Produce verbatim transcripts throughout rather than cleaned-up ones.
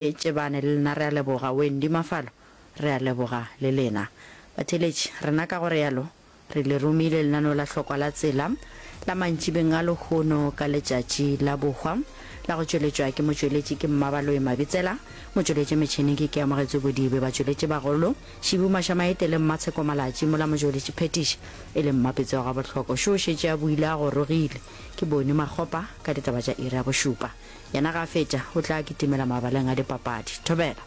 Tšebane le lena re a leboga. Wendy Mafalo re a leboga le lena. Batheeletši, rena ka go realo re le romile lenaneo la hlokwa la tsela la mantšibeng a lehono ka letšatši la bohwa la go tšweletšwa ke motšweletši ke Mmabaloi Mabitsela, motšweletši metšhineng ke Keamogetswe Bodibe, batšweletši bagolo Šibu Mašamaite le Mmatsheko Malatši, mola motšweletši phetiši e le Mmapetse wa Gabohloko. Šo o šetše a buile a gorogile ke Boni Makgopa ka ditaba tša iri ya bošupa. Yena ga a fetša o tla kitimela mabaleng a dipapadi. Thobela.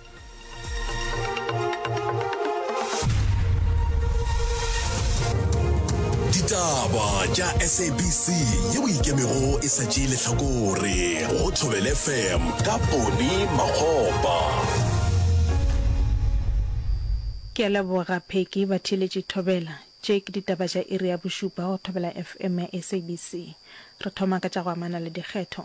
Ditaba tša S A B C yeo ikemego e sa tšee lehlakore go Thobela F M ka Poni Makgopa. Ke a leboga Peggy. Batheeletši thobela. Tše ke ditaba tša iri ya bošupa go Thobela F M ya S A B C. Re thoma ka tša go amana le dikgetho.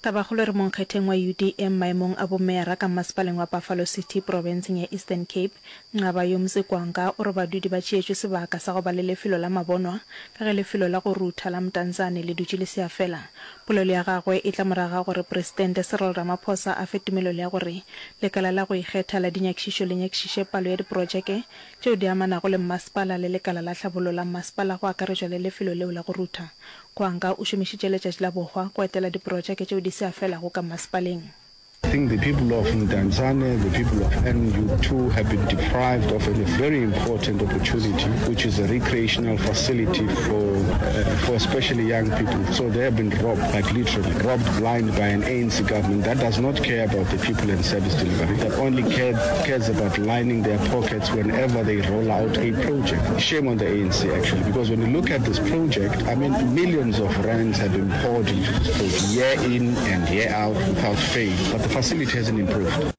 Tabakgolo e re monkgetheng wa U D M maemong a bomeyara ka mmasepaleng wa Buffalo City profenseng ya Eastern Cape, Nqabayomzi Kwankwa o re badudi ba tšeetšwe sebaka sa go ba le lefelo la mabonwa ka ge lefelo la go rutha la Mdantsane le dutše le se a fela. Polelo ya gagwe e tla morago ga gore Presidente Cyril Ramaphosa a fe tumelelo ya gore lekala la go ikgetha la dinyakišišo le nyakišiše palo ya diprojeke tšeo di amanago le mmasepala le lekala la tlhabollo la mmasepala go akaretšwa le lefelo leo la go rutha. Gwanga o šomišitše letšatši la bohwa go etela diprojeke tšeo di se a felago ka mmasepaleng. I think the people of Mdantsane, the people of N U two have been deprived of a very important opportunity, which is a recreational facility for, uh, for especially young people. So they have been robbed, like literally, robbed blind by an A N C government that does not care about the people and service delivery, that only care, cares about lining their pockets whenever they roll out a project. Shame on the A N C, actually, because when you look at this project, I mean, millions of rands have been poured into this project year in and year out without fail. But the facility hasn't improved.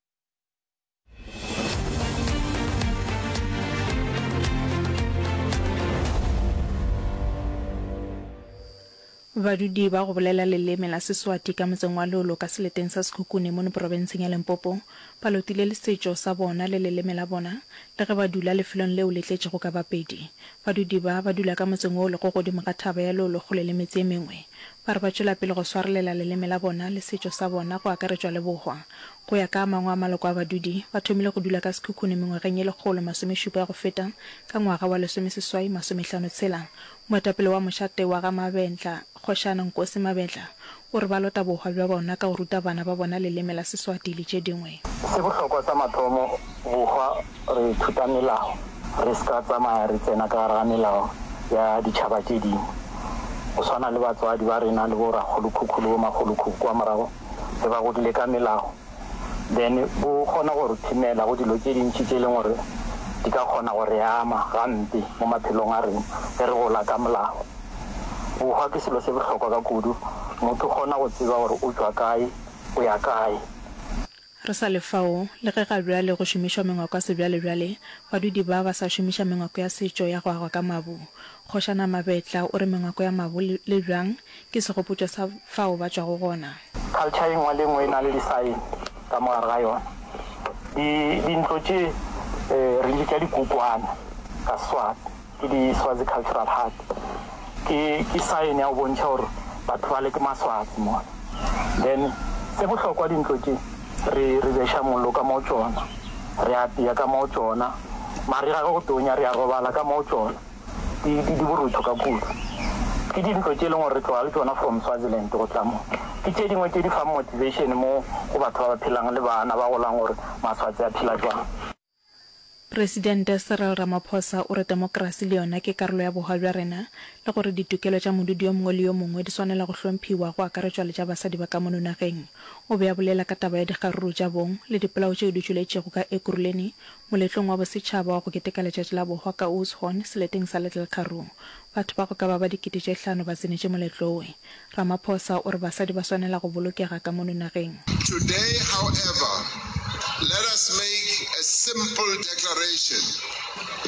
Badudi ba go bolela leleme la Seswati ka motseng wa Lolo ka seleteng sa Sekhukhune mono profenseng ya Limpopo ba lotile le setšo sa bona le leleme la bona le ge ba dula lefelong leo le tletšego ka Bapedi. Badudi ba ba dula ka motseng wo o lego godimo ga thaba ya Lolo kgole le metse e mengwe. Ba re ba tšwela pele go swarelela leleme la bona le setšo sa bona go akaretšwa le bohwa. Go ya ka a mangwe a maloko a badudi, ba thomile go dula ka Sekhukhune mengwageng ye lekgolo masomešupa ya go feta ka ngwaga wa lesomeseswai masomehlano tshela. Moetapele wa mošate wa ga Mabetla, Kgošana Nkosi Mabetla, o re ba lota bohwa bja bona ka go ruta bana ba bona leleme la Seswati le tše dingwe. Se bohlokwa sa mathomo, bohwa re ithuta melao, re se ka tsamaya re tsena ka gare ga melao ya ditšhaba tše dingwe. Go swana le batswadi ba rena le bo rakgolokhukhu le bo makgolokhukhu kwa morago ge ba godile ka melao, then bo kgona go re thimela go dilo tše dintši tše e leng gore di ka kgona go re ama gampe mo maphelong a rena ge re gola ka molao. Bohwa ke selo se bohlokwa ka kudu, motho o kgona go tseba gore o tšwa kae, o ya kae. Re sa le fao, le ge ga bjale go šomišwa mengwako ya sebjalebjale, badudi ba ba sa šomiša mengwako ya setšo ya go agwa ka mabu. Kgošana Mabetla o re mengwako ya mabu le le bjang ke segopotšo sa fao ba tšwago gona. Culture e nngwe le e nngwe e na le di-sign ka mo gare ga yona. Di, dintlo tše re di bitša dikokwana ka Seswati, ke di Swazi Cultural Hut. Ke, ke sign ya go bontšha gore batho bale ke Maswazi mola. Then se bohlokwa dintlo tše re, re beša mollo ka mo go tšona, re apea ka mo go tšona, marega ge go tonya re a robala ka mo go tšona. Di, di, di borutho ka kudu. Ke dintlo tše e leng gore re tloga le tšona from Swaziland go tla mo. Ke tše dingwe tše di fang motivation mo go batho ba ba phelang le bana ba golang gore Maswatse a phela jwang. Presidente Cyril Ramaphosa o re temokrasi le yona ke karolo ya bohwa bja rena le gore ditokelo tša modudi yo mongwe le yo mongwe di swanela go hlomphiwa go akaretšwa le tša basadi ba ka mono nageng. O be a bolela ka taba ya dikgaruru tša bong le dipolao tšeo di tšweletšego ka Ekurhuleni moletlong wa bosetšhaba wa go keteka letšatši la bohwa ka Oudtshoorn seleteng sa Little Karoo. Batho ba go ka ba ba dikete tše hlano ba tsenetše moletlo we. Ramaphosa o re basadi ba swanela go bolokega ka mono nageng. Today, however, let us make a simple declaration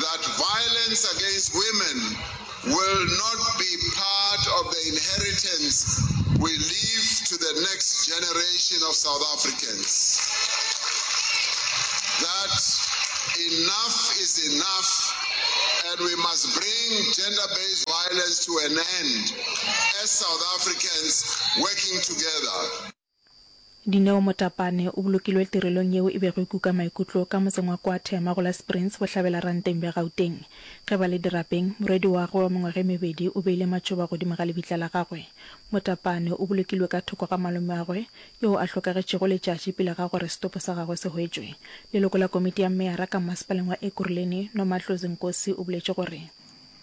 that violence against women will not be part of the inheritance we leave to the next generation of South Africans. That enough is enough And we must bring gender-based violence to an end as South Africans working together. Dineo Motapane o bolokilwe tirelong yeo e bego e kuka maikutlo ka motseng wa Kwa Thema go la Springs bohlabela ranteng bja Gauteng. Ge ba le dirapeng, morwedi wa gagwe wa mengwaga e mebedi o beile matšoba godimo ga lebitla la gagwe. Motapane o bolokilwe ka thoko ga malomeagwe yoo a hlokagetšego letšatši pele ga gore setopo sa gagwe se hwetšwe. Leloko la komiti ya meyara ka mmasepaleng wa Ekurhuleni, Nomadlozi Nkosi o boletše gore,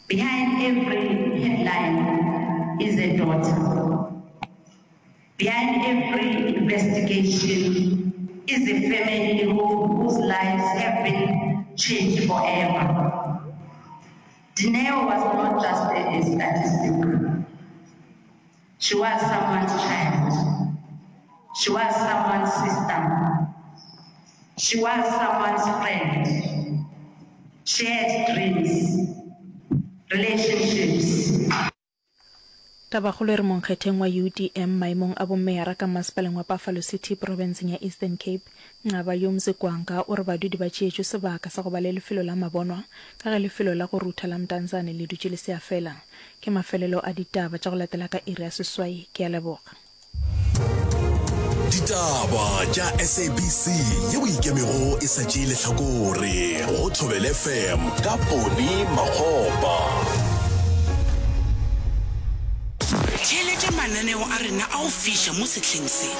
Behind every headline is a daughter. Behind every investigation is a family who, whose lives have been changed forever. Dineo was not just a, a statistic. She was someone's child. She was someone's sister. She was someone's friend. She had dreams, relationships. Tabakgolo e re monkgetheng wa U D M maemong a bommeyara ka masepaleng wa Buffalo City profenseng ya Eastern Cape, Nqabayomzi Kwankwa o re badudi ba tšeetšwe sebaka sa go ba le lefelo la mabonwa ka ge lefelo la go rutha la Mdantsane le dutše le se a fela. Ke mafelelo a ditaba tša go latela ka iri ya seswai. Ke a leboga. Ditaba tša S A B C yeo ikemego e sa tšee lehlakore go Thobela F M ka Poni Makgopa. Theeletša mananeo a rena a go fiša mo sehleng se.